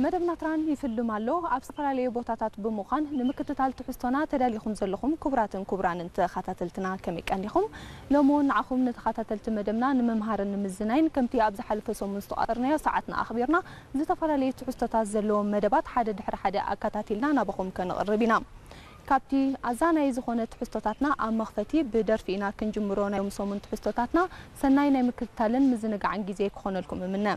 መደብና ትራን ይፍልም ኣሎ። ኣብ ዝተፈላለዩ ቦታታት ብምዃን ንምክትታል ትሕዝቶና ተዳሊኹም ዘለኹም ክቡራትን ክቡራንን ተኸታተልትና ከመይ ቀኒኹም? ሎሚ እውን ንዓኹም ንተኸታተልቲ መደብና ንምምሃርን ንምዝናይን ከምቲ ኣብ ዝሓለፈ ሰሙን ዝተቋጸርናዮ ሰዓትና ኣኽቢርና ዝተፈላለዩ ትሕዝቶታት ዘለዎም መደባት ሓደ ድሕሪ ሓደ ኣከታቲልና ናባኹም ከነቕርብ ኢና። ካብቲ ኣዛናዪ ዝኾነ ትሕዝቶታትና ኣብ መኽፈቲ ብደርፊ ኢና ክንጅምሮ ናይ ሎም ሰሙን ትሕዝቶታትና ሰናይ ናይ ምክትታልን ምዝንጋዕን ግዜ ክኾነልኩም እምነ።